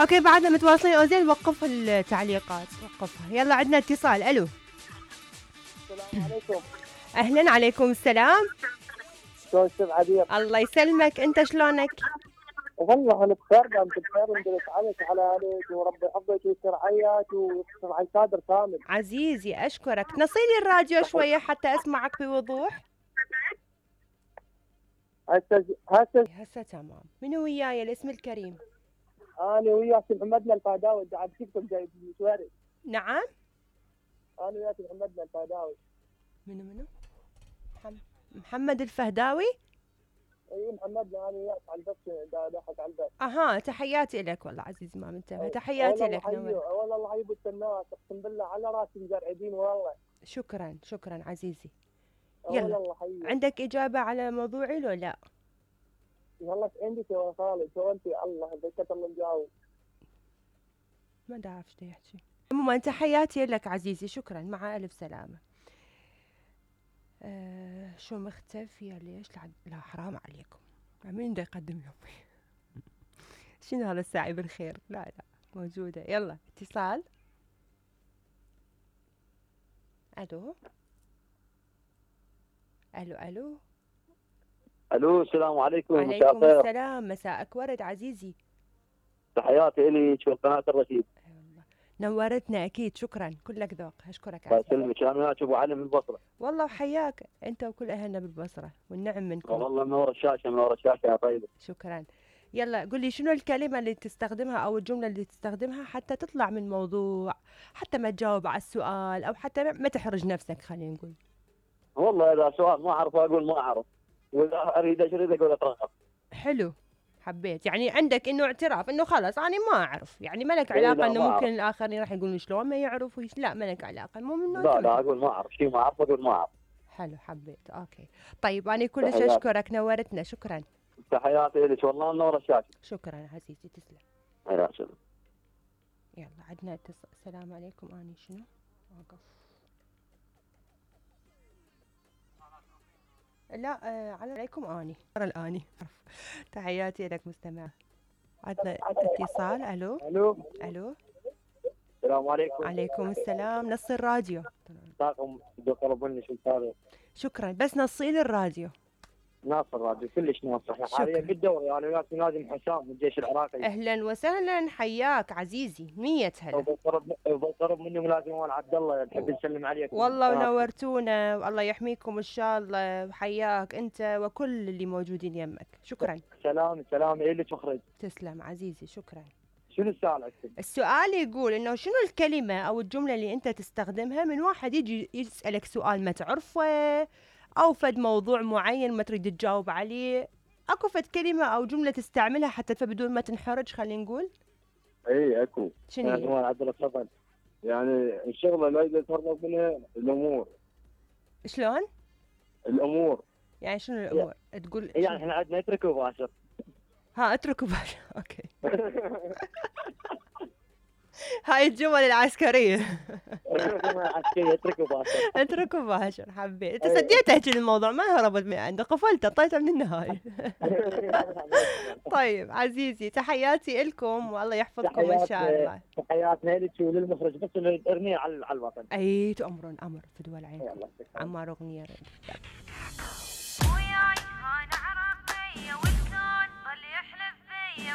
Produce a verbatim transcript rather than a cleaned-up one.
اوكي بعدنا متواصلين اوزين. وقف التعليقات وقفها. يلا عندنا اتصال. الو السلام عليكم. اهلا. عليكم السلام. شلون استاذ عبير؟ الله يسلمك. انت شلونك؟ والله انا بخير دامك بخير وندرس عليك على عليك وربي يحفظك ويستر عياك ويستر على صادر كامل. عزيزي اشكرك. نصيلي الراديو شويه حتى اسمعك بوضوح. هسه هسه هسه تمام. منو وياي الاسم الكريم؟ انا وياك محمدنا الفهداوي قاعد تكتب جايب مشواري. نعم انا وياك محمدنا الفهداوي. منو منو؟ محمد الفهداوي. اي محمدنا. انا وياك على البث ضحك على البث. اها تحياتي لك والله عزيزي ما منتبه. تحياتي لك. والله والله الله يبوس الناس اقسم بالله على راسي مزرعدين والله. شكرا شكرا عزيزي. يلا الله حيك. عندك اجابه على موضوعي لو لا؟ والله عندي تو خالد تو انت الله ذكرت الله مجاوب. ما دا اعرف شو يحكي. عموما تحياتي لك عزيزي. شكرا مع الف سلامه. أه شو مختفيه ليش؟ لا حرام عليكم. مين بده يقدم يومي؟ شنو هذا الساعي بالخير؟ لا لا موجوده. يلا اتصال. الو الو الو الو السلام عليكم. وعليكم السلام. مساءك ورد عزيزي. تحياتي الك وقناه الرشيد. نورتنا اكيد. شكرا كلك ذوق. اشكرك الله يسلمك. انا وياك ابو علي من البصره. والله وحياك انت وكل اهلنا بالبصره والنعم منكم. والله منور الشاشه منور الشاشه يا طيبه. شكرا. يلا قل لي شنو الكلمه اللي تستخدمها او الجمله اللي تستخدمها حتى تطلع من موضوع، حتى ما تجاوب على السؤال او حتى ما تحرج نفسك. خلينا نقول والله اذا سؤال ما اعرف اقول ما اعرف، واذا اريد اشرد اقول اترغب. حلو. حبيت يعني عندك انه اعتراف انه خلاص انا ما اعرف، يعني ما لك علاقه انه ممكن الاخرين راح يقولون شلون ما يعرف ويش. لا ما لك علاقه. المهم انه لا لا اقول ما اعرف شيء ما اعرف اقول ما اعرف. حلو حبيت. اوكي طيب انا كلش اشكرك نورتنا. شكرا. تحياتي لك والله منور الشاشه. شكرا عزيزي تسلم. يا سلام. يلا عندنا اتصال. السلام عليكم. اني شنو واقف؟ لا آه عليكم اني الاني. تحياتي لك مستمع. عندنا اتصال. الو الو الو السلام عليكم. عليكم السلام. نص الراديو. طاقم طلب مني شو صار. شكرا بس نصي لي الراديو. ناصر الراديو كلش ناصر. احنا حاليا بالدوري انا وياك لازم حسام من الجيش العراقي. اهلا وسهلا حياك عزيزي. مية هلا. وبالقرب مني ملازم مال عبد الله نحب نسلم عليك. والله ونورتونا والله يحميكم ان شاء الله. وحياك انت وكل اللي موجودين يمك. شكرا. سلام سلام الك مخرج. تسلم عزيزي. شكرا. شنو السؤال اكتب؟ السؤال يقول انه شنو الكلمه او الجمله اللي انت تستخدمها من واحد يجي يسالك سؤال ما تعرفه او فد موضوع معين ما تريد تجاوب عليه. اكو فد كلمه او جمله تستعملها حتى بدون ما تنحرج خلينا نقول. اي اكو. شنو يعني هو عبد الصفن يعني الشغله لا يتهرب منها الامور. شلون؟ الامور يعني شنو الامور؟ تقول يعني احنا عندنا اترك وباشر. ها اترك وباشر. اوكي. هاي الجمل العسكريه. العسكريه اترك وباشر. اترك وباشر. حبيت انت سديت تحكي الموضوع ما هربت من عنده. قفلت اعطيته من النهايه. طيب عزيزي تحياتي لكم والله يحفظكم ان شاء الله. تحياتنا لك وللمخرج بس ارميه على على الوطن. اي تأمرون امر في دول عين. عمار اغنيه.